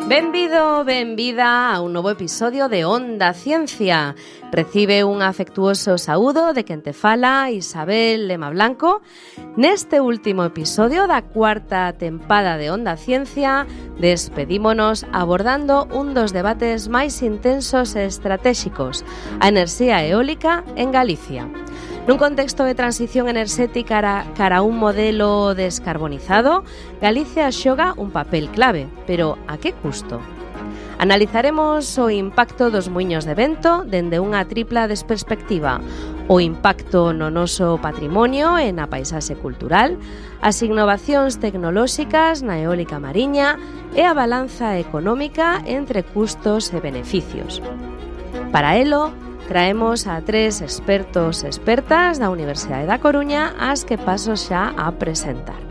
Benvido, benvida a un novo episodio de Onda Ciencia. Recibe un afectuoso saúdo de quen te fala, Isabel Lema Blanco. Neste último episodio da cuarta tempada de Onda Ciencia, despedímonos abordando un dos debates máis intensos e estratégicos, a enerxía eólica en Galicia. Nun contexto de transición enerxética cara a un modelo descarbonizado, Galicia xoga un papel clave, pero a que custo? Analizaremos o impacto dos muiños de vento dende unha tripla desperspectiva, o impacto no noso patrimonio e na paisaxe cultural, as innovacións tecnolóxicas na eólica mariña e a balanza económica entre custos e beneficios. Para elo, traemos a tres expertos e expertas da Universidade da Coruña, as que paso xa a presentar.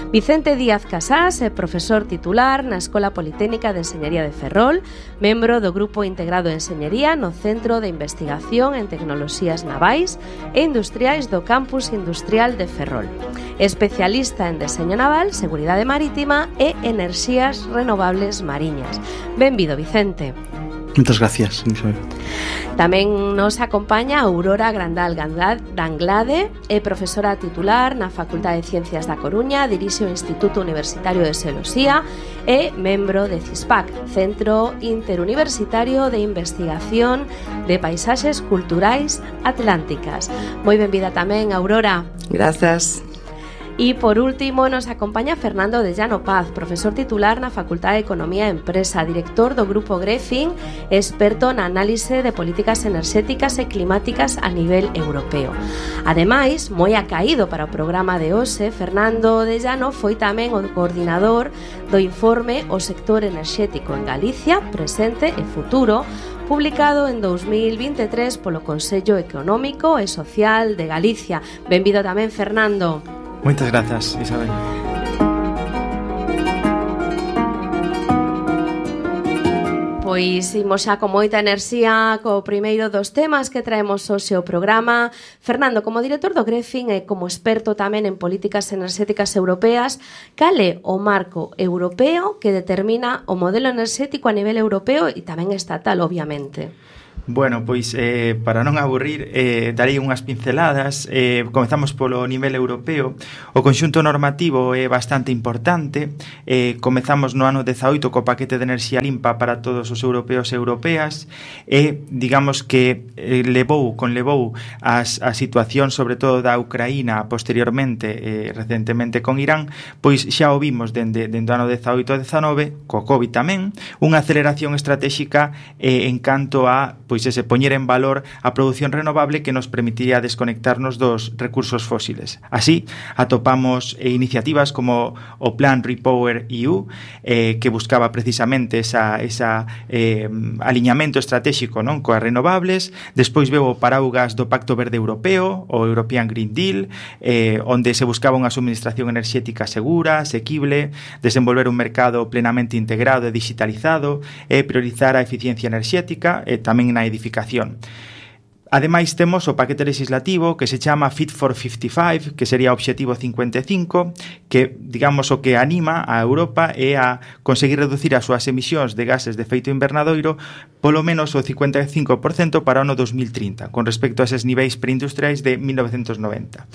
Vicente Díaz Casás é profesor titular na Escola Politécnica de Enxeñería de Ferrol, membro do Grupo Integrado de Enxeñería no Centro de Investigación en Tecnoloxías Navais e Industriais do Campus Industrial de Ferrol. Especialista en deseño naval, seguridade marítima e enerxías renovables mariñas. Benvido, Vicente. Muchas gracias, Isabel. Tamén nos acompaña Aurora Grandal Danglade, é profesora titular na Facultade de Ciencias da Coruña, dirixe o Instituto Universitario de Xeoloxía e membro de CISPAC, Centro Interuniversitario de Investigación de Paisaxes Culturais Atlánticas. Moi benvida tamén, Aurora. Gracias. E, por último, nos acompaña Fernando de Llano Paz, profesor titular na Facultade de Economía e Empresa, director do Grupo Grefin, experto na análise de políticas enerxéticas e climáticas a nivel europeo. Ademais, moi acaído para o programa de hoxe, Fernando de Llano foi tamén o coordinador do informe O sector enerxético en Galicia, presente e futuro, publicado en 2023 polo Consello Económico e Social de Galicia. Benvido tamén, Fernando. Muchas gracias, Isabel. Pois imos xa con moita enerxía co primeiro dos temas que traemos hoxe ao programa. Fernando, como director do Grefin e como experto tamén en políticas enerxéticas europeas, cal é o marco europeo que determina o modelo enerxético a nivel europeo e tamén estatal, obviamente? Bueno, pois para non aburrir, darei unhas pinceladas. Comezamos polo nivel europeo. O conxunto normativo é bastante importante. Comezamos no ano 18 co paquete de enerxía limpa para todos os europeos e europeas e, digamos que conlevou a situación sobre todo da Ucraína posteriormente, recentemente con Irán, pois xa o vimos dende o ano 18 e 19, co COVID tamén, unha aceleración estratégica en canto a ese poñer en valor a produción renovable que nos permitiría desconectarnos dos recursos fósiles. Así, atopamos iniciativas como o Plan Repower EU, que buscaba precisamente esa aliñamento estratégico, non, coas renovables. Despois veo o paraugas do Pacto Verde Europeo, o European Green Deal, onde se buscaba unha suministración enerxética segura, asequible, desenvolver un mercado plenamente integrado e digitalizado, e priorizar a eficiencia enerxética, tamén na edificación. Ademais, temos o paquete legislativo que se chama Fit for 55, que sería o Obxectivo 55, que, digamos, o que anima a Europa é a conseguir reducir as súas emisións de gases de efecto invernadoiro polo menos o 55% para o ano 2030, con respecto a eses niveis preindustriais de 1990.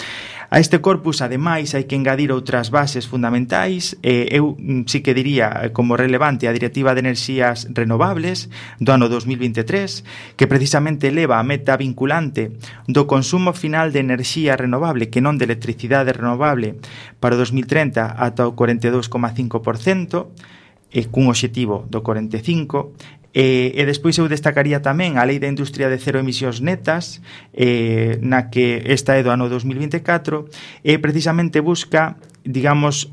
A este corpus, ademais, hai que engadir outras bases fundamentais. Eu sí que diría como relevante a Directiva de Enerxías Renovables do ano 2023, que precisamente eleva a meta vinculante do consumo final de enerxía renovable, que non de electricidade renovable, para o 2030 ata o 42,5%, cun obxectivo do 45%. E despois eu destacaría tamén a Lei da Industria de Cero Emisións Netas, na que esta é do ano 2024, e precisamente busca, digamos,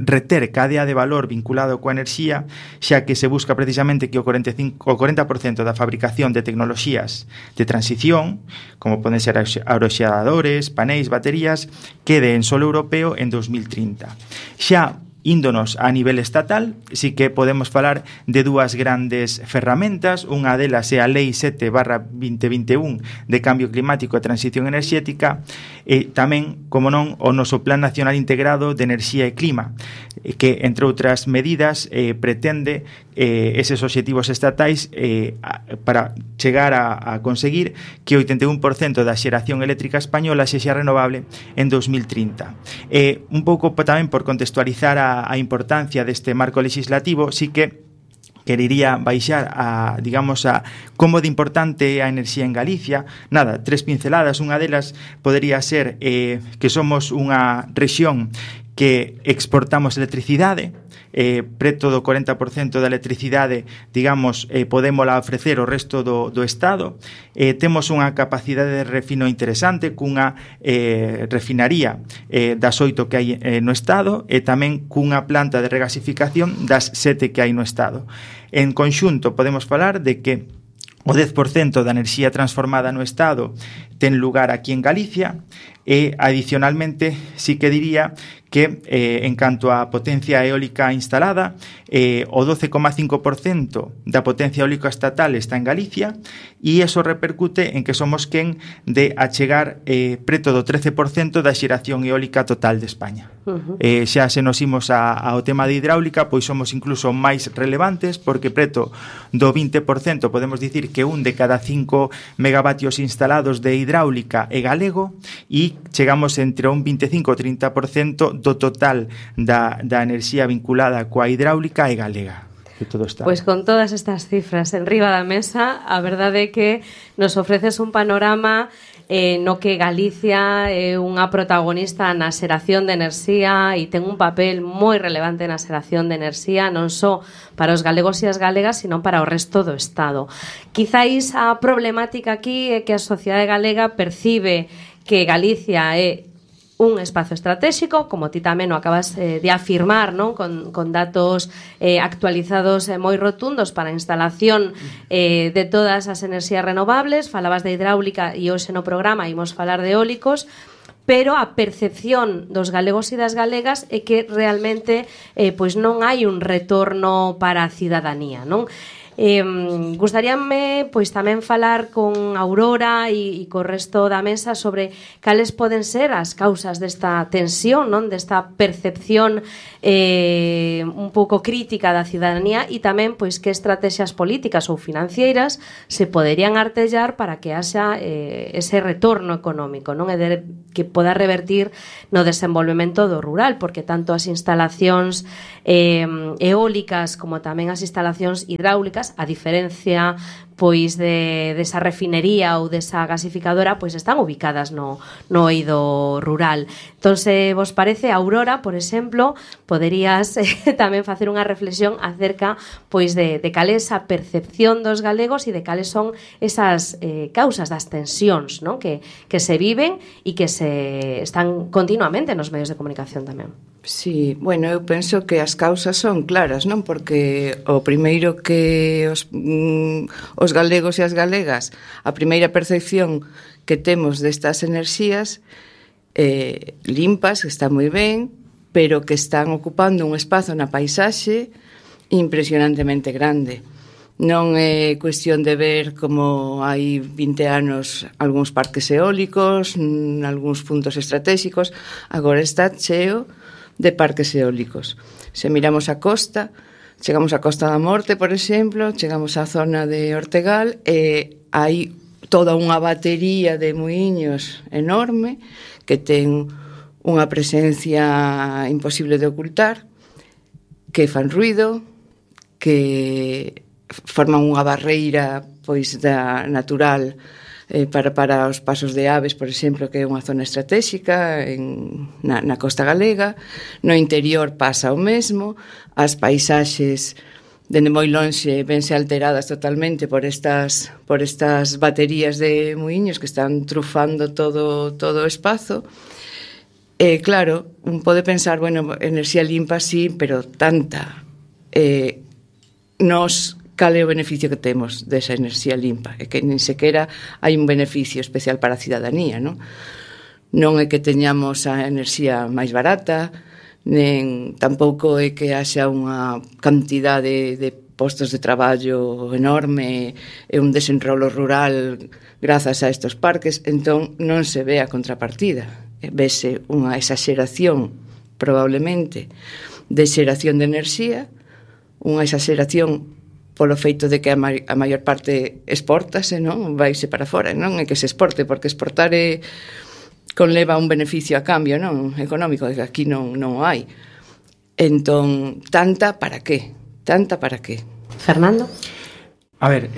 reter cadea de valor vinculado coa enerxía, xa que se busca precisamente que o 40% da fabricación de tecnoloxías de transición, como poden ser aeroxeradores, panéis, baterías, quede en solo europeo en 2030. Xa índonos a nivel estatal, sí que podemos falar de dúas grandes ferramentas. Unha delas é a Lei 7/2021 de Cambio Climático e Transición Enerxética, e tamén, como non, o noso Plan Nacional Integrado de Enerxía e Clima. que, entre outras medidas, pretende eses obxectivos estatais para chegar a conseguir que o 81% da xeración eléctrica española sexa renovable en 2030. Un pouco tamén por contextualizar a importancia deste marco legislativo, sí que querería baixar a, digamos, a como de importante a enerxía en Galicia. Nada, 3 pinceladas. Unha delas podería ser que somos unha rexión que exportamos electricidade, preto do 40% da electricidade, digamos, podémola ofrecer ao resto do Estado. Temos unha capacidade de refino interesante, cunha refinaría das 8 que hai no Estado, e tamén cunha planta de regasificación das 7 que hai no Estado. En conxunto, podemos falar de que o 10% da enerxía transformada no Estado ten lugar aquí en Galicia, e adicionalmente sí que diría que en canto á potencia eólica instalada, o 12,5% da potencia eólica estatal está en Galicia, e iso repercute en que somos quen de achegar preto do 13% da xeración eólica total de España. Xa se nos imos ao tema de hidráulica, pois somos incluso máis relevantes, porque preto do 20% podemos dicir que un de cada 5 megavatios instalados de hidráulica é galego, e chegamos entre un 25 ou 30% do total da enerxía vinculada coa hidráulica é galega. Pois con todas estas cifras enriba da mesa, a verdade é que nos ofreces un panorama no que Galicia é unha protagonista na xeración de enerxía e ten un papel moi relevante na xeración de enerxía, non só para os galegos e as galegas, sino para o resto do Estado. Quizáis a problemática aquí é que a sociedade galega percibe que Galicia é un espazo estratégico, como ti tamén o acabas de afirmar, non? Con datos actualizados moi rotundos para a instalación de todas as enerxías renovables. Falabas de hidráulica e hoxe no programa imos falar de eólicos, pero a percepción dos galegos e das galegas é que realmente pois non hai un retorno para a cidadanía, non? Gustaríame pois tamén falar con Aurora e co resto da mesa sobre cales poden ser as causas desta tensión, non? Desta percepción un pouco crítica da cidadanía, e tamén pois que estrategias políticas ou financeiras se poderían artellar para que haxa ese retorno económico, non? E que poda revertir no desenvolvemento do rural, porque tanto as instalacións eólicas como tamén as instalacións hidráulicas, a diferencia pois desa refinería ou desa gasificadora, pois están ubicadas no eido rural. Entón, se vos parece, Aurora, por exemplo, poderías tamén facer unha reflexión acerca pois de cal é esa percepción dos galegos e de cales son esas causas das tensións, non? Que se viven e que se están continuamente nos medios de comunicación tamén. Sí, bueno, eu penso que as causas son claras, non? Porque o primeiro que os galegos e as galegas, a primeira percepción que temos destas enerxías limpas, que está moi ben, pero que están ocupando un espazo na paisaxe impresionantemente grande. Non é cuestión de ver como hai 20 anos algúns parques eólicos, algúns puntos estratégicos, agora está cheo de parques eólicos. Se miramos a costa, chegamos á Costa da Morte, por exemplo, chegamos á zona de Ortegal, e hai toda unha batería de muiños enorme que ten unha presencia imposible de ocultar, que fan ruido, que forman unha barreira pois da natural para os pasos de aves, por exemplo, que é unha zona estratégica na costa galega. No interior pasa o mesmo, as paisaxes dende moi lonxe vense alteradas totalmente por estas baterías de muiños que están trufando todo o espazo. Claro, un pode pensar, bueno, enerxía limpa sí, pero tanta. Cal é o beneficio que temos desa enerxía limpa? É que nin sequera hai un beneficio especial para a cidadanía, non? Non é que teñamos a enerxía máis barata, nen tampouco é que haxa unha cantidade de postos de traballo enorme e un desenrolo rural grazas a estes parques, entón non se ve a contrapartida. Vese unha exaxeración, probablemente, de xeración de enerxía, unha exageración polo feito de que a maior parte exportase, non? Vaise para fora, non é que se exporte, porque exportar conleva un beneficio a cambio, non? Económico, que aquí non o hai. Entón, tanta para qué? Tanta para qué? Fernando? A ver,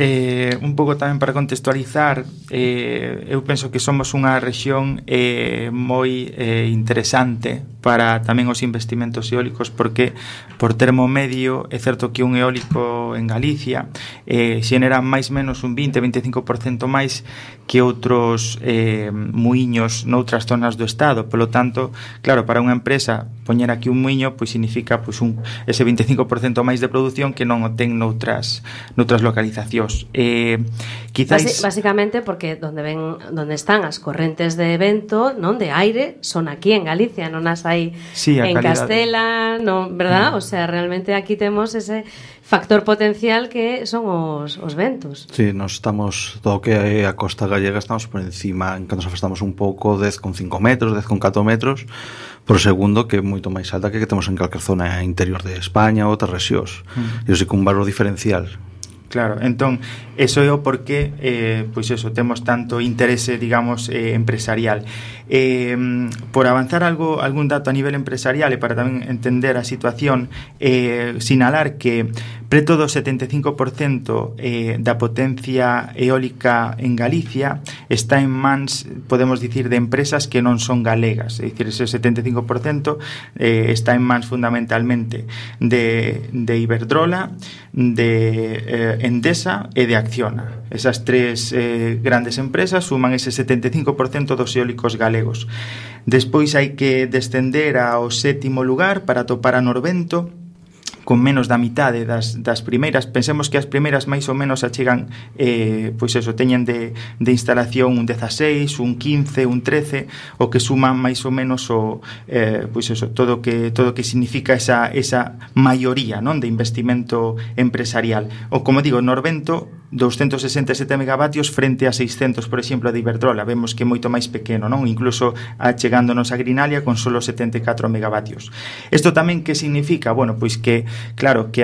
un pouco tamén para contextualizar, eu penso que somos unha rexión moi interesante para tamén os investimentos eólicos, porque por termo medio é certo que un eólico en Galicia xenera máis menos un 20-25% máis que outros muiños noutras zonas do estado. Polo tanto, claro, para unha empresa poñer aquí un muiño pois significa pois ese 25% máis de produción que non o ten noutras localizacións. Quizás básicamente porque donde están as correntes de vento, non, de aire, son aquí en Galicia, non as hai en Castela, non, verdad? O sea, realmente aquí temos ese factor potencial que son os ventos. Sí, nos estamos, todo o que é a costa gallega, estamos por encima, en cando nos afastamos un pouco, 10,5 metros, 10,4 metros por segundo, que é moito máis alta que temos en calquer zona interior de España ou outras rexións. E iso sí que un valor diferencial. Claro, entón, eso é o porqué, pois eso, temos tanto interese, digamos, empresarial. Por avanzar algún dato a nivel empresarial e para tamén entender a situación, sinalar que preto do 75% da potencia eólica en Galicia está en mans, podemos dicir, de empresas que non son galegas. É dicir, ese 75% está en mans fundamentalmente de Iberdrola, de Endesa e de Acciona. Esas tres grandes empresas suman ese 75% dos eólicos galegos. Despois hai que descender ao 7º lugar para topar a Norvento, con menos da mitade das primeiras. Pensemos que as primeiras máis ou menos achegan, pois eso, teñen de instalación un 16, un 15, un 13, o que suma máis ou menos pois eso, todo o que significa esa maioría, non, de investimento empresarial. O como digo, Norvento 267 megavatios frente a 600, por exemplo, de Iberdrola. Vemos que é moito máis pequeno, non? Incluso achegándonos a Grinalia con solo 74 megavatios. Isto tamén que significa? Bueno, pois que, claro, que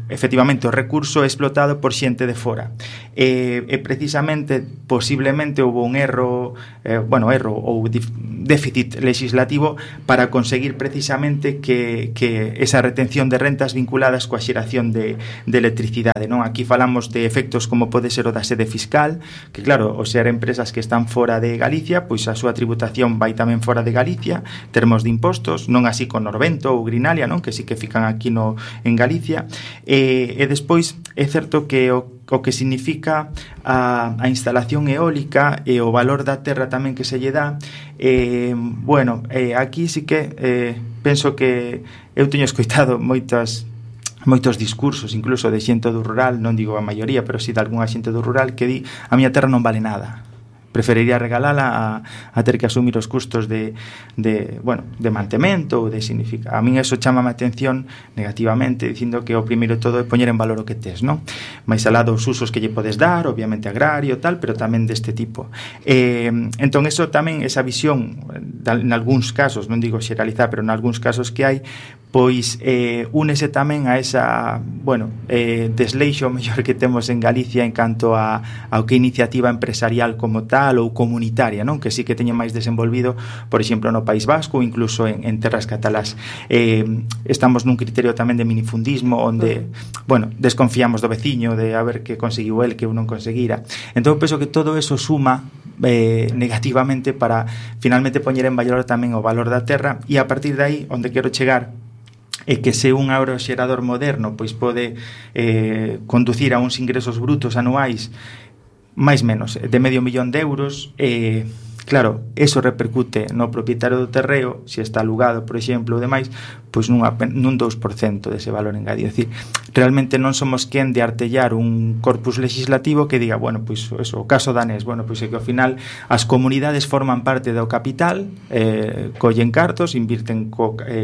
efectivamente o recurso é explotado por xente de fora. E precisamente, posiblemente, houve un erro ou déficit legislativo para conseguir precisamente que esa retención de rentas vinculadas coa xeración de electricidade, non? Aquí falamos de efectos como pode ser o da sede fiscal, que claro, o ser empresas que están fora de Galicia, pois a súa tributación vai tamén fora de Galicia, termos de impostos, non así con Norvento ou Grinalia, non, que sí que fican aquí en Galicia, e despois é certo que o que significa a instalación eólica e o valor da terra tamén que se lle dá, aquí sí que penso que eu teño escoitado moitos discursos, incluso de xente do rural, non digo a maioría, pero si de algunha xente do rural que di a miña terra non vale nada, preferiría regalala a ter que asumir os custos de mantemento ou de significa. A min eso chama a atención negativamente, dicindo que o primeiro todo é poñer en valor o que tes, non? Mais alá dos usos que lle podes dar, obviamente agrario, tal, pero tamén deste tipo. Entón, eso tamén, esa visión, en algúns casos, non digo xeralizar, pero en algúns casos que hai, pois únese tamén a esa, desleixo mellor que temos en Galicia en canto ao que iniciativa empresarial como tal ou comunitaria, non? Que sí que teñen máis desenvolvido, por exemplo, no País Vasco ou incluso en terras catalás. Estamos nun criterio tamén de minifundismo onde, desconfiamos do veciño de a ver que conseguiu el que eu non conseguira. Entón, penso que todo eso suma negativamente para finalmente poñer en valor tamén o valor da terra, e a partir de aí, onde quero chegar é que se un aeroxerador moderno pois pode conducir a uns ingresos brutos anuais máis menos de €500,000 de euros, claro, eso repercute no propietario do terreo, se está alugado, por exemplo, ou demais, pois nun 2% dese valor engadido. É dicir, realmente non somos quen de artellar un corpus legislativo que diga, pois eso, o caso danés, pois é que ao final as comunidades forman parte do capital, collen cartos, invirten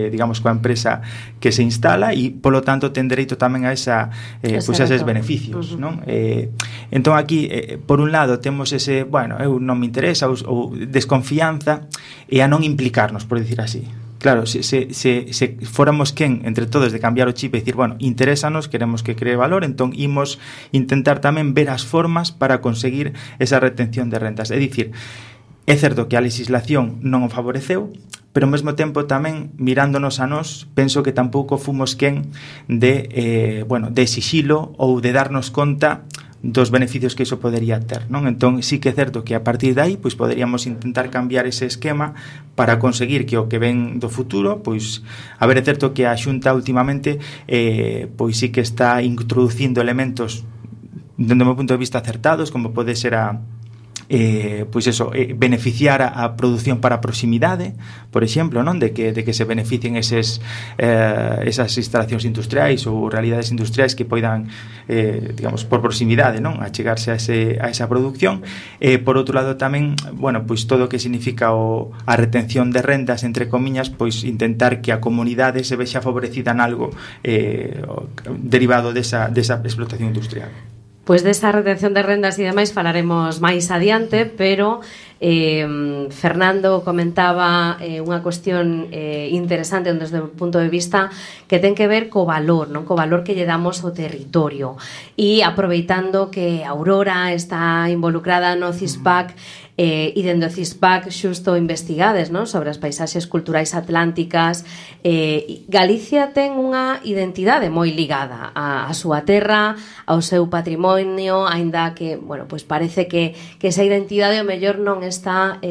digamos coa empresa que se instala e polo tanto ten dereito tamén a eses beneficios, non? Entón aquí, por un lado, temos ese, eu non me interesa ou desconfianza e a non implicarnos, por dicir así. claro, se fóramos quen entre todos de cambiar o chip e dicir, bueno, interésanos, queremos que cree valor, entón imos intentar tamén ver as formas para conseguir esa retención de rentas. É dicir, é certo que a legislación non o favoreceu, pero ao mesmo tempo tamén, mirándonos a nós, penso que tampouco fomos quen de exixilo ou de darnos conta dos beneficios que iso podería ter, non? Entón, sí que é certo que a partir de aí, pois poderíamos intentar cambiar ese esquema para conseguir que o que ven do futuro, pois, a ver, é certo que a Xunta últimamente pois sí que está introducindo elementos dende o meu punto de vista acertados, como pode ser beneficiar a produción para proximidade, por exemplo, non? De que se beneficien esas instalacións industriais ou realidades industriais que poidan digamos, por proximidade, non? Achegarse a esa produción. Por outro lado tamén, bueno, pois todo o que significa a retención de rendas, entre comiñas, pois intentar que a comunidade se vexa favorecida en algo derivado desa explotación industrial. Pois desa retención de rendas e demais falaremos máis adiante, pero Fernando comentaba unha cuestión interesante desde o punto de vista que ten que ver co valor, non? Co valor que lle damos ao territorio. E aproveitando que Aurora está involucrada no CISPAC, e dende o CISPAC xusto investigades, non? Sobre as paisaxes culturais atlánticas, Galicia ten unha identidade moi ligada á súa terra, ao seu patrimonio, aínda que, bueno, pois parece que esa identidade ao mellor non está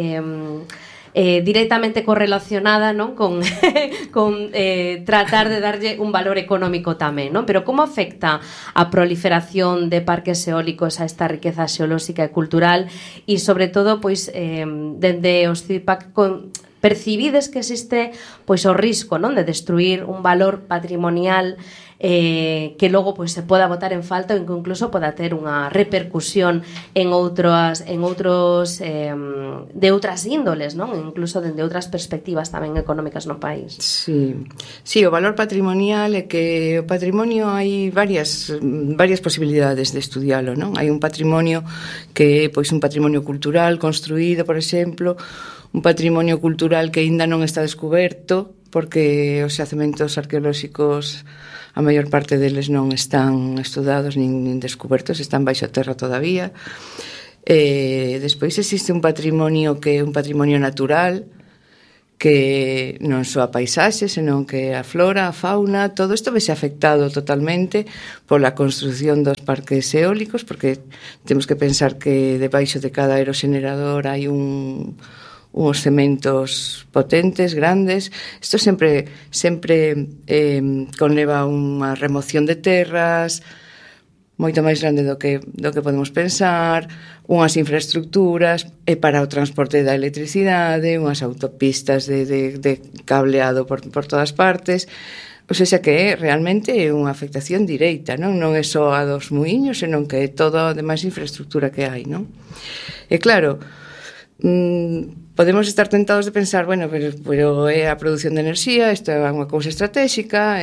directamente correlacionada, non? Con tratar de darlle un valor económico tamén, non? Pero como afecta a proliferación de parques eólicos a esta riqueza xeolóxica e cultural e sobre todo, pois, dende os CIPAC percibides que existe pois o risco, non? De destruir un valor patrimonial que logo pois se poda botar en falta ou incluso poda ter unha repercusión en outros de outras índoles, non? Incluso dende outras perspectivas tamén económicas no país. Sí, o valor patrimonial é que o patrimonio hai varias posibilidades de estudialo, non? Hai un patrimonio que é pois un patrimonio cultural construído, por exemplo, un patrimonio cultural que aínda non está descoberto porque os xacementos arqueolóxicos a maior parte deles non están estudados nin descobertos, están baixo a terra todavía. Despois existe un patrimonio que é un patrimonio natural, que non só a paisaxe, senón que a flora, a fauna, todo isto vese afectado totalmente pola construción dos parques eólicos, porque temos que pensar que debaixo de cada aeroxenerador hai uns cementos potentes, grandes. Isto sempre conleva unha remoción de terras moito máis grande do que podemos pensar, unhas infraestructuras e para o transporte da electricidade, unhas autopistas de cableado por todas partes. O sea que realmente é unha afectación directa, non é só a dos muiños, senón que é toda a demais infraestructura que hai, non? E claro, podemos estar tentados de pensar, bueno, pero é a produción de enerxía, isto é unha cousa estratégica,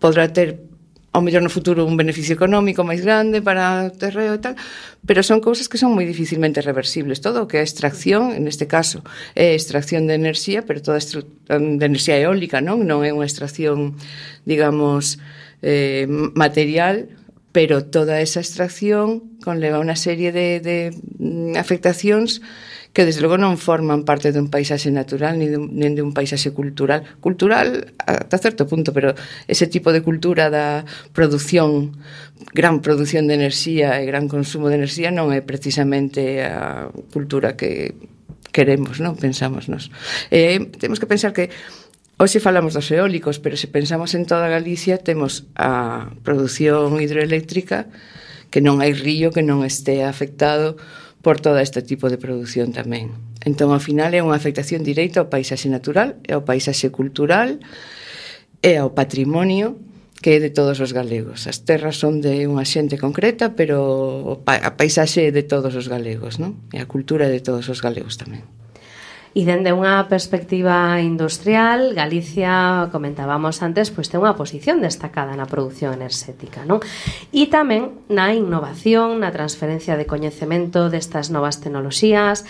podrá ter ao mellor no futuro un beneficio económico máis grande para o terreo e tal, pero son cousas que son moi dificilmente reversibles. Todo o que é extracción, neste caso, é extracción de enerxía, pero toda de enerxía eólica, non é unha extracción, digamos, material, pero toda esa extracción conleva unha serie de afectacións que desde logo non forman parte dun paisaxe natural nin de un paisaxe cultural ata certo punto, pero ese tipo de cultura da produción, gran produción de enerxía e gran consumo de enerxía non é precisamente a cultura que queremos, non? Pensamos nos. Temos que pensar que hoxe falamos dos eólicos, pero se pensamos en toda Galicia temos a produción hidroeléctrica, que non hai río que non este afectado por todo este tipo de produción tamén. Entón, ao final, é unha afectación directa ao paisaxe natural, e ao paisaxe cultural, e ao patrimonio que é de todos os galegos. As terras son de unha xente concreta, pero a paisaxe é de todos os galegos, non? E a cultura é de todos os galegos tamén. E dende unha perspectiva industrial, Galicia, comentábamos antes, pois ten unha posición destacada na produción enerxética, non? E tamén na innovación, na transferencia de coñecemento destas novas tecnoloxías,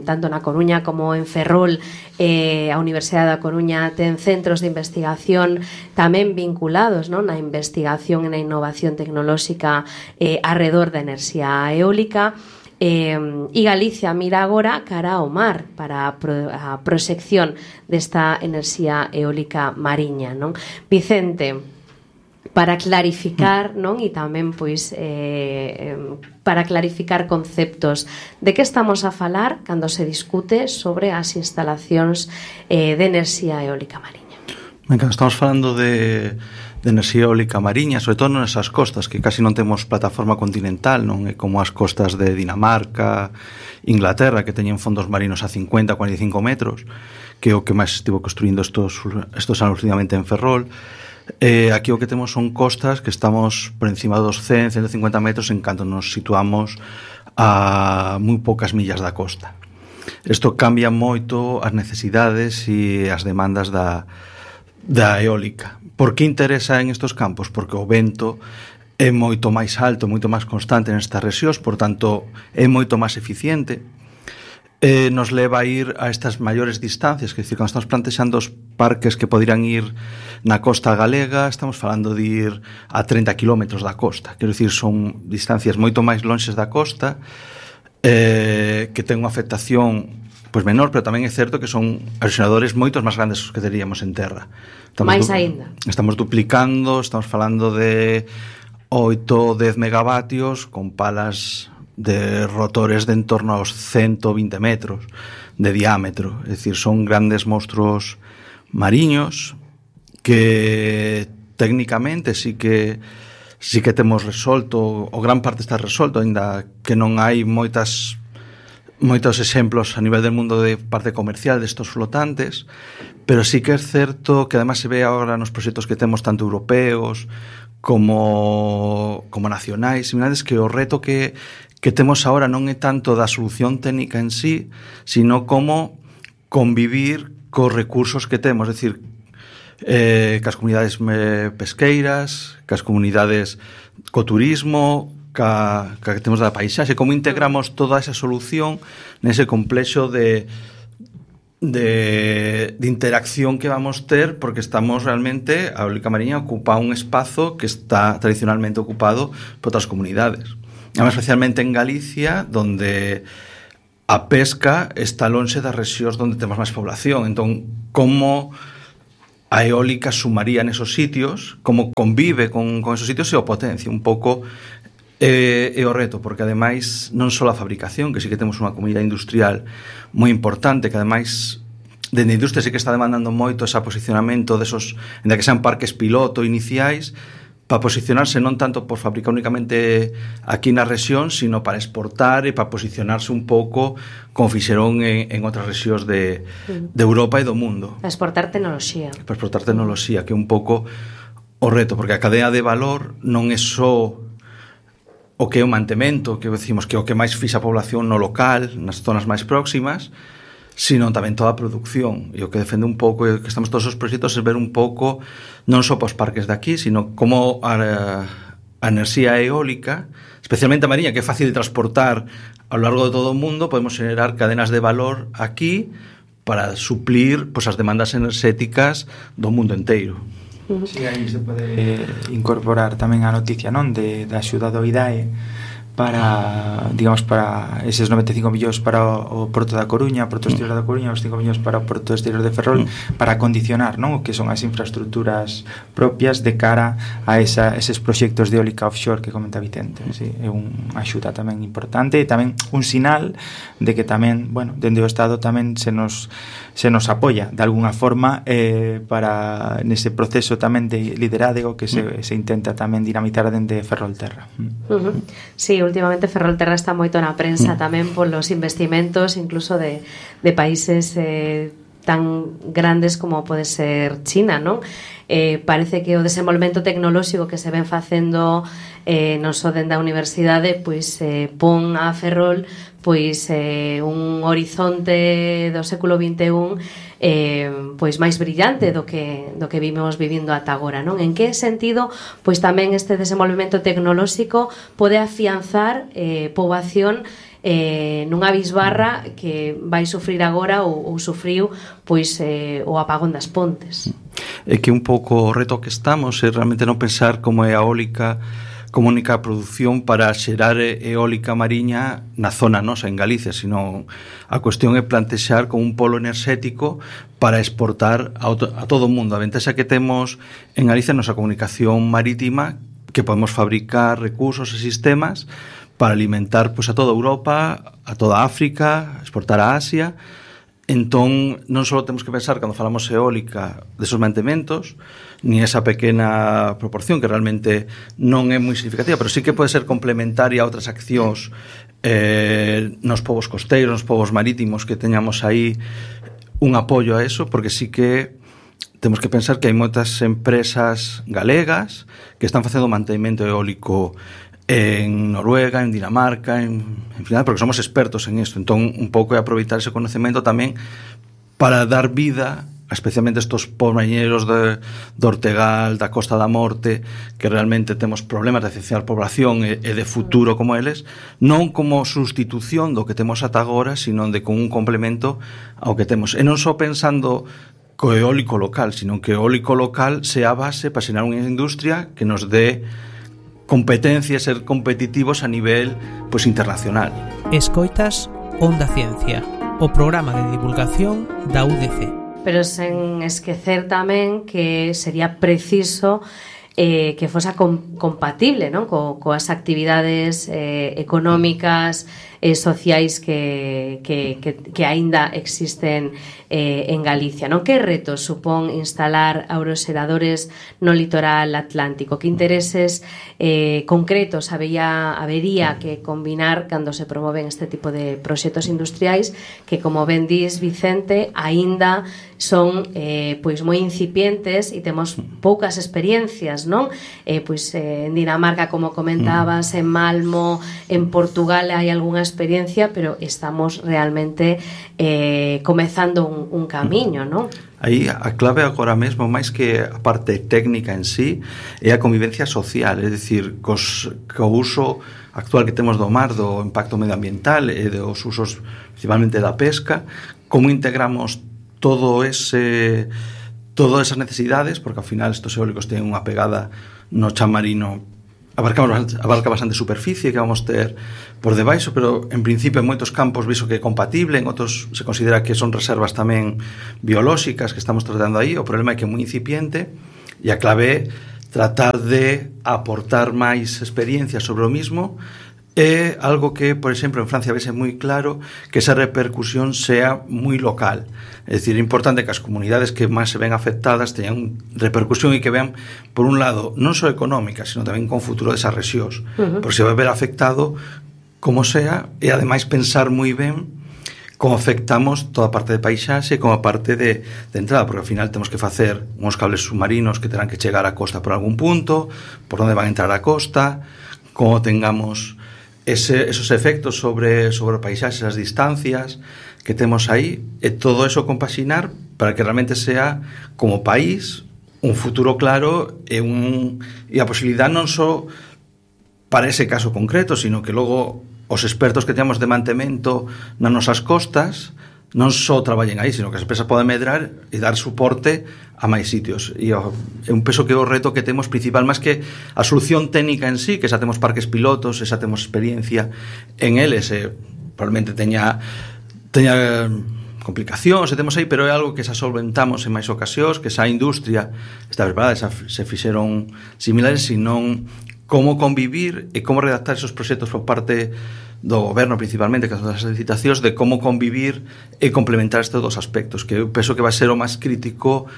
tanto na Coruña como en Ferrol, a Universidade da Coruña ten centros de investigación tamén vinculados, non, na investigación e na innovación tecnolóxica arredor da enerxía eólica. E Galicia mira agora cara ao mar para a proxección desta enerxía eólica mariña, non? Vicente, para clarificar, non? E tamén pois para clarificar conceptos, de que estamos a falar cando se discute sobre as instalacións de enerxía eólica mariña? Estamos falando de enerxía eólica mariña, sobre todo nesas costas que casi non temos plataforma continental, non é como as costas de Dinamarca, Inglaterra, que teñen fondos marinos a 50, 45 metros, que é o que máis estivo construindo estos anos últimamente en Ferrol. Aquí o que temos son costas que estamos por encima dos 100, 150 metros en canto nos situamos a moi poucas millas da costa. Isto cambia moito as necesidades e as demandas da eólica. Por que interesa en estos campos? Porque o vento é moito máis alto, moito máis constante nestas rexións, por tanto é moito máis eficiente, nos leva a ir a estas maiores distancias, que decir, cando estamos plantexando os parques que podirán ir na costa galega, estamos falando de ir a 30 kilómetros da costa, quero dicir, son distancias moito máis lonxes da costa, que ten unha afectación pois menor, pero tamén é certo que son erosionadores moitos máis grandes que teríamos en terra. Mais aínda. Estamos duplicando, estamos falando de 8 ou 10 megavatios con palas de rotores de en torno aos 120 metros de diámetro. É dicir, son grandes monstruos mariños que técnicamente sí que temos resolto, o gran parte está resolto, aínda que non hai moitos exemplos a nivel del mundo de parte comercial destos flotantes, pero sí que é certo que además se ve agora nos proxectos que temos tanto europeos como nacionais, similares, que o reto que temos agora non é tanto da solución técnica en sí, sino como convivir cos recursos que temos, é dicir, cas comunidades pesqueiras, cas comunidades co turismo, que temos da paisaxe, como integramos toda esa solución nese complexo de interacción que vamos ter, porque estamos realmente, a eólica mariña ocupa un espazo que está tradicionalmente ocupado por outras comunidades. Además, especialmente en Galicia, donde a pesca está lonxe das rexións onde temos máis población. Entón, como a eólica sumaría nesos sitios, como convive con esos sitios e o potencia un pouco é o reto, porque ademais non só a fabricación, que sí que temos unha comunidade industrial moi importante, que ademais dende a industria sí que está demandando moito ese posicionamento desos, en que sean parques piloto iniciais, para posicionarse non tanto por fabricar únicamente aquí na rexión, sino para exportar e para posicionarse un pouco como fixeron en outras rexións de Europa e do mundo. Para exportar tecnoloxía. Para exportar tecnoloxía, que é un pouco o reto, porque a cadea de valor non é só o que é o mantemento, que decimos que é o que máis fixa a población no local, nas zonas máis próximas, sino tamén toda a produción. E o que defende un pouco, que estamos todos os proxectos, é ver un pouco non só para os parques de aquí, sino como a enerxía eólica, especialmente a mariña, que é fácil de transportar a lo largo de todo o mundo, podemos generar cadenas de valor aquí para suplir as demandas enerxéticas do mundo enteiro. Sí, aí se pode incorporar tamén a noticia, non, da axuda do IDAE para, digamos, para eses 95 millóns para o Porto da Coruña, o Porto Exterior da Coruña, os 5 millóns para o Porto Exterior de Ferrol, para condicionar, non, o que son as infraestructuras propias de cara a eses proxectos de eólica offshore que comenta Vicente. Sí, é unha axuda tamén importante e tamén un sinal de que tamén, bueno, dende o Estado tamén se nos apoia de alguna forma para nese proceso tamén de liderazgo que se intenta tamén dinamizar dende Ferrolterra. Sí, últimamente Ferrolterra está moito na prensa tamén polos investimentos incluso de países tan grandes como pode ser China, non? Parece que o desenvolvemento tecnolóxico que se ven facendo non só dende a universidade, pois pon a Ferrol pois un horizonte do século XXI pois máis brillante do que vimos vivindo ata agora, non? En que sentido pois tamén este desenvolvemento tecnolóxico pode afianzar poboación nunha bisbarra que vai sufrir agora ou sufriu pois o apagón das Pontes. É que un pouco o reto que estamos é realmente non pensar como é a eólica como única produción para xerar eólica mariña na zona nosa, en Galicia, sino a cuestión é plantexar como un polo enerxético para exportar a todo o mundo. A ventaxa que temos en Galicia é a nosa comunicación marítima, que podemos fabricar recursos e sistemas para alimentar pois, a toda Europa, a toda África, exportar a Asia. Entón, non só temos que pensar, cando falamos eólica, desos mantementos, ni esa pequena proporción, que realmente non é moi significativa, pero sí que pode ser complementaria a outras accións nos povos costeiros, nos povos marítimos, que teñamos aí un apoio a eso, porque sí que temos que pensar que hai moitas empresas galegas que están facendo mantemento eólico en Noruega, en Dinamarca, en final, porque somos expertos en isto. Entón, un pouco é aproveitar ese conocemento tamén para dar vida a especialmente estos pomañeros do Ortegal, da Costa da Morte, que realmente temos problemas de esencial población e de futuro como eles, non como sustitución do que temos ata agora, sino de con un complemento ao que temos. E non só pensando co eólico local, sino que o eólico local sea a base para xerar unha industria que nos dé competencia, ser competitivos a nivel pois internacional. Escoitas Onda Ciencia, o programa de divulgación da UDC. Pero sen esquecer tamén que sería preciso que fosa compatible, non? Coas actividades económicas e sociais que aínda existen en Galicia, non? Que retos supón instalar aeroxeradores no litoral atlántico? Que intereses concretos habería que combinar cando se promoven este tipo de proxectos industriais que, como ben dis, Vicente, aínda son pois moi incipientes e temos poucas experiencias, non? Pois en Dinamarca, como comentabas, en Malmo, en Portugal hai algunha experiencia, pero estamos realmente comezando un camiño, non? Aí a clave agora mesmo, máis que a parte técnica en sí, é a convivencia social, é dicir, co uso actual que temos do mar, do impacto medioambiental e dos usos principalmente da pesca, como integramos todas esas necesidades, porque ao final estos eólicos teñen unha pegada no chan marino, abarca bastante superficie que vamos ter por debaixo, pero en principio en moitos campos viso que é compatible, en outros se considera que son reservas tamén biolóxicas que estamos tratando aí. O problema é que é moi incipiente e a clave é tratar de aportar máis experiencia sobre o mismo. É algo que, por exemplo, en Francia vese moi claro que esa repercusión sea moi local. É dicir, é importante que as comunidades que máis se ven afectadas teñan repercusión e que vean, por un lado, non só económica, sino tamén con futuro desas rexións. Porque se vai ver afectado como sea, e ademais pensar moi ben como afectamos toda a parte de paisaxe, como a parte de entrada, porque ao final temos que facer uns cables submarinos que terán que chegar á costa por algún punto, por onde van a entrar á costa, como tengamos esos efectos sobre o paisaxe, as distancias que temos aí, e todo eso compaxinar para que realmente sea, como país, un futuro claro e a posibilidade non só para ese caso concreto, sino que logo os expertos que temos de mantemento nas nosas costas non só traballen aí, sino que as empresas poden medrar e dar soporte a máis sitios. E é un peso que é o reto que temos principal, máis que a solución técnica en sí, que xa temos parques pilotos, xa temos experiencia en eles, probablemente teña complicacións, temos aí, pero é algo que xa solventamos en máis ocasións, que xa a industria está preparada, xa se fixeron similares, senón como convivir e como redactar esos proxectos por parte do goberno principalmente, que son as licitacións, de como convivir e complementar estes dos aspectos, que eu penso que vai ser o máis crítico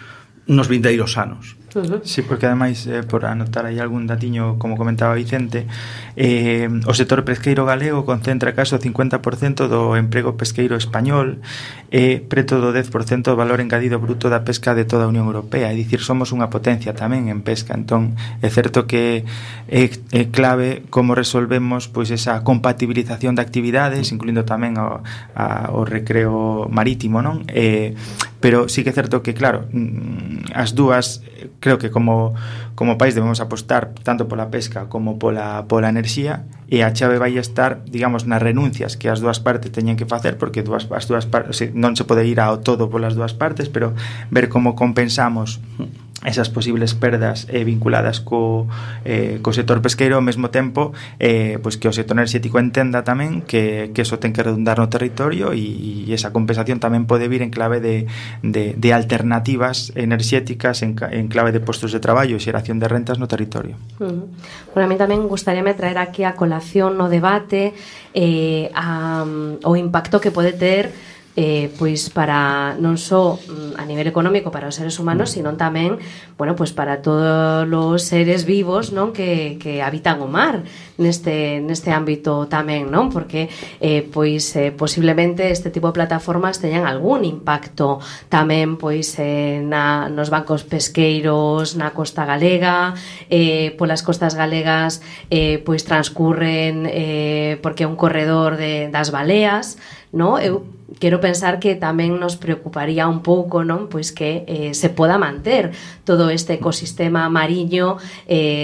nos vindeiros anos. Sí, porque ademais, por anotar aí algún datiño, como comentaba Vicente, o sector pesqueiro galego concentra caso o 50% do emprego pesqueiro español e preto do 10% do valor engadido bruto da pesca de toda a Unión Europea, é dicir, somos unha potencia tamén en pesca. Entón, é certo que é clave como resolvemos pois esa compatibilización de actividades, incluindo tamén o recreo marítimo, non? Pero sí que é certo que, claro, as dúas, creo que como país debemos apostar tanto pola pesca como pola enerxía, e a chave vai estar, digamos, nas renuncias que as dúas partes teñen que facer, porque as dúas partes non se pode ir ao todo polas dúas partes, pero ver como compensamos esas posibles perdas vinculadas co sector pesqueiro, ao mesmo tempo pois que o sector enerxético entenda tamén que eso ten que redundar no territorio, e esa compensación tamén pode vir en clave de alternativas enerxéticas, en clave de postos de traballo e xeración de rentas no territorio. Bueno, a mí tamén gustaríame traer aquí a colación no debate o impacto que pode ter pois para non só a nivel económico para os seres humanos, sino tamén, bueno, pois para todos os seres vivos, non, que habitan o mar neste ámbito tamén, non? Porque posiblemente este tipo de plataformas teñan algún impacto tamén pois nos bancos pesqueiros na costa galega, polas costas galegas pois transcurren porque é un corredor das baleas, non? Eu quero pensar que tamén nos preocuparía un pouco, non? Pois que se poda manter todo este ecosistema mariño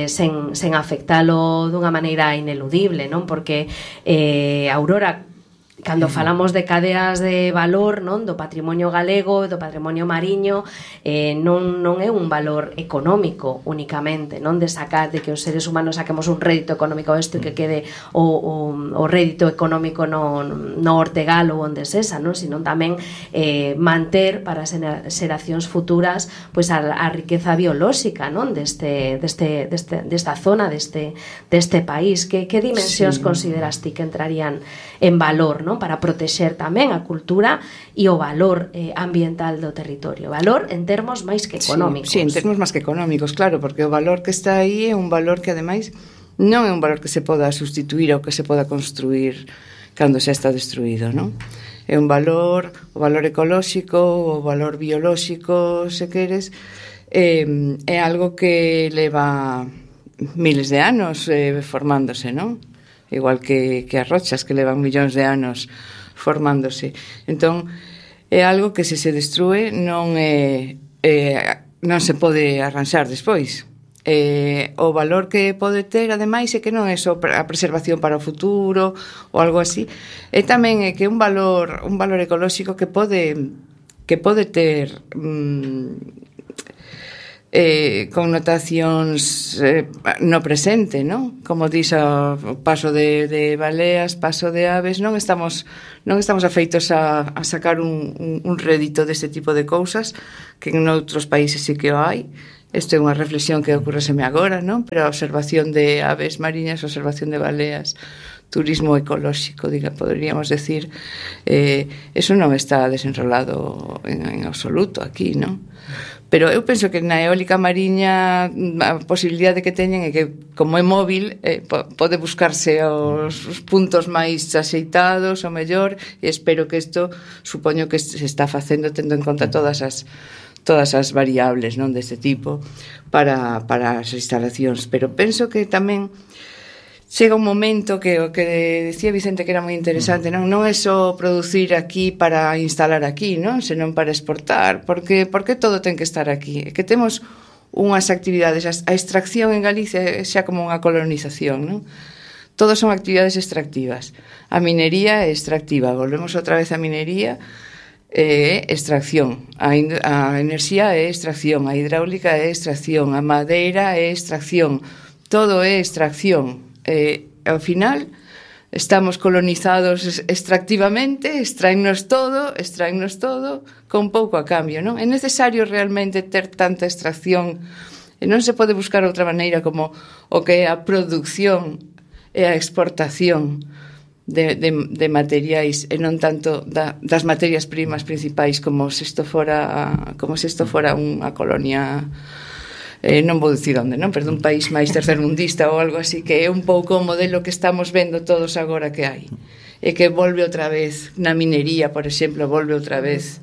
sen afectalo dunha maneira ineludible, non? Porque Aurora, cando falamos de cadeas de valor, non, do patrimonio galego, do patrimonio mariño, non é un valor económico únicamente, non, de que os seres humanos saquemos un rédito económico isto e que quede o rédito económico no Ortegal ou onde sesa, non, sino tamén manter para as xeracións futuras pois a riqueza biolóxica, non, desta zona, deste país. Que dimensións consideras ti que entrarían en valor, non, para protexer tamén a cultura e o valor ambiental do territorio? Valor en termos máis que económicos. Sí, en termos máis que económicos, claro, porque o valor que está aí é un valor que ademais non é un valor que se poda sustituir ou que se poda construir cando xa está destruído, non? É un valor, o valor ecolóxico, o valor biolóxico, se queres, é algo que leva miles de anos formándose, non? Igual que as rochas que levan millóns de anos formándose. Entón, é algo que se destrúe non se pode arranxar despois. O valor que pode ter, ademais, é que non é só a preservación para o futuro ou algo así, é tamén que un valor ecolóxico que pode ter connotacións no presente, non? Como dís, o paso de baleas, paso de aves, non estamos afeitos a sacar un rédito deste tipo de cousas, que en outros países sí que o hai. Isto é unha reflexión que ocurreseme agora, non? Pero a observación de aves mariñas, a observación de baleas, turismo ecolóxico, poderíamos decir, eso non está desenrolado en absoluto aquí, non? Pero eu penso que na eólica mariña a posibilidade que teñen é que, como é móvil, pode buscarse os puntos máis axeitados, o mellor, e espero que isto, supoño que se está facendo tendo en conta todas as variables, non, deste tipo para as instalacións. Pero penso que tamén chega un momento que o que decía Vicente que era moi interesante, non é só producir aquí para instalar aquí, non, senón para exportar, porque todo ten que estar aquí. É que temos unhas actividades, a extracción en Galicia é xa como unha colonización, non? Todos son actividades extractivas. A minería é extractiva, volvemos outra vez á minería, é extracción, a enerxía é extracción, a hidráulica é extracción, a madeira é extracción, todo é extracción. Ao final estamos colonizados extractivamente, extraennos todo con pouco a cambio, non? É necesario realmente ter tanta extracción, e non se pode buscar outra maneira como o que é a produción e a exportación de materiais, e non tanto das materias primas principais como se isto fora unha colonia non vou dicir onde, non? Pero dun país máis tercermundista ou algo así, que é un pouco o modelo que estamos vendo todos agora que hai. E que volve outra vez na minería, por exemplo, volve outra vez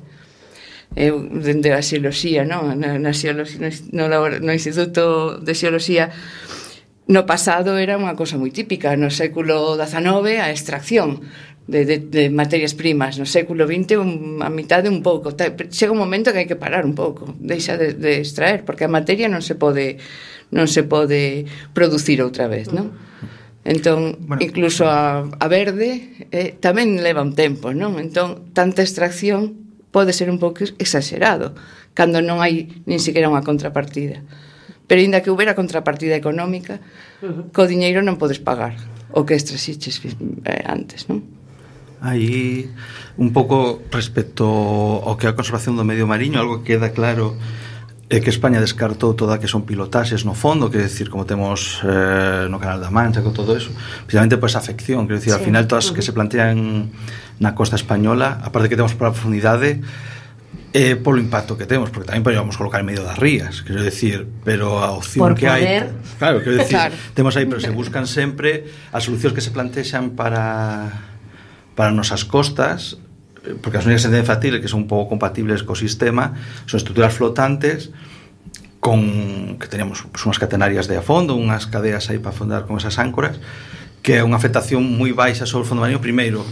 dende a xeoloxía, non? No Instituto de Xeoloxía. No pasado era unha cosa moi típica, no século XIX a extracción de materias primas, no século XX a mitad de un pouco. Chega un momento que hai que parar un pouco, deixa de extraer, porque a materia non se pode producir outra vez, non? Entón, incluso a verde tamén leva un tempo, non? Entón, tanta extracción pode ser un pouco exagerado cando non hai nin siquiera unha contrapartida. Pero ainda que houbera contrapartida económica, co diñeiro non podes pagar o que extraxiches antes, non? Aí, un pouco respecto ao que é a conservación do medio mariño, algo que queda claro é que España descartou toda que son pilotaxes no fondo, que decir, como temos no Canal da Mancha, con todo eso, precisamente por esa afección, quero decir, al final todas que se plantean na costa española, aparte que temos por a profundidade, polo impacto que temos, porque tamén podemos colocar en medio das rías, quero decir, pero a opción por que hai, claro, quero decir, temos aí, pero se buscan sempre as solucións que se plantexan para nosas costas, porque as únicas que se deben factir que son un pouco compatibles co sistema son estruturas flotantes que teníamos unhas catenarias de a fondo, unhas cadeas aí para afondar con esas áncoras, que é unha afectación moi baixa sobre o fondo marino. Primeiro,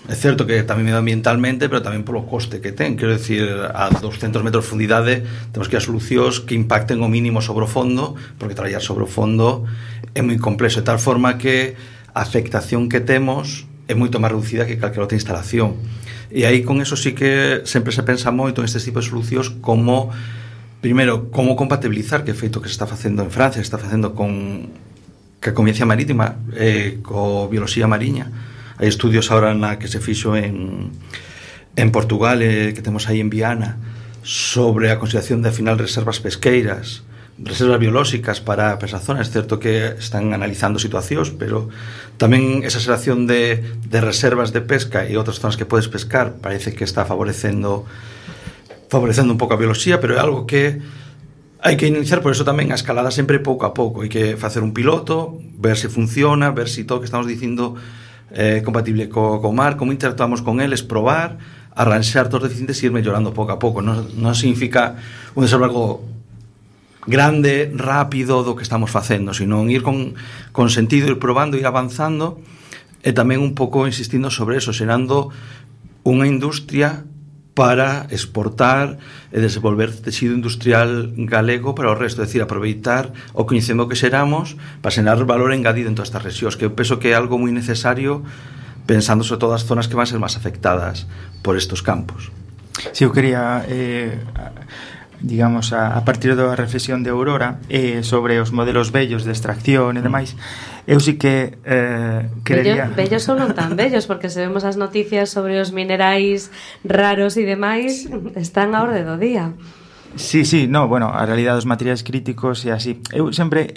é certo que tamén medioambientalmente, pero tamén polo coste que ten, quero decir, a 200 metros de profundidade temos que ir a solucións que impacten o mínimo sobre o fondo, porque traballar sobre o fondo é moi complexo, de tal forma que a afectación que temos é moito máis reducida que calquera outra instalación. E aí con eso sí que sempre se pensa moito en este tipo de solucións como, primeiro, como compatibilizar, que é feito que se está facendo en Francia, se está facendo con a Convencia Marítima, co bioloxía mariña. Hai estudios ahora na que se fixo en Portugal, que temos aí en Viana, sobre a consideración de final reservas pesqueiras, reservas biolóxicas para esa zona. É certo que están analizando situacións, pero tamén esa xeración de reservas de pesca e outras zonas que podes pescar parece que está favorecendo un pouco a bioloxía, pero é algo que hai que iniciar, por eso tamén a escalada sempre pouco a pouco. Hai que facer un piloto, ver se funciona, ver se todo o que estamos dicindo compatible co mar, como interactuamos con eles, probar, arranxar todos os deficientes e ir mellorando pouco a pouco. Non significa un desenvolver grande, rápido do que estamos facendo, sino ir con sentido, ir probando, ir avanzando, e tamén un pouco insistindo sobre eso, xerando unha industria para exportar e desenvolver texido industrial galego para o resto, é dicir, aproveitar o coñecemento que xeramos para xerar valor engadido en todas estas rexións, que eu penso que é algo moi necesario pensando sobre todas as zonas que van ser máis afectadas por estos campos. Si, eu quería digamos, a partir da reflexión de Aurora sobre os modelos bellos de extracción e demais, eu sí que querería... Bellos ou non tan bellos, porque se vemos as noticias sobre os minerais raros e demais, están a orde do día. Sí, no, bueno, a realidade dos materiais críticos e así. Eu sempre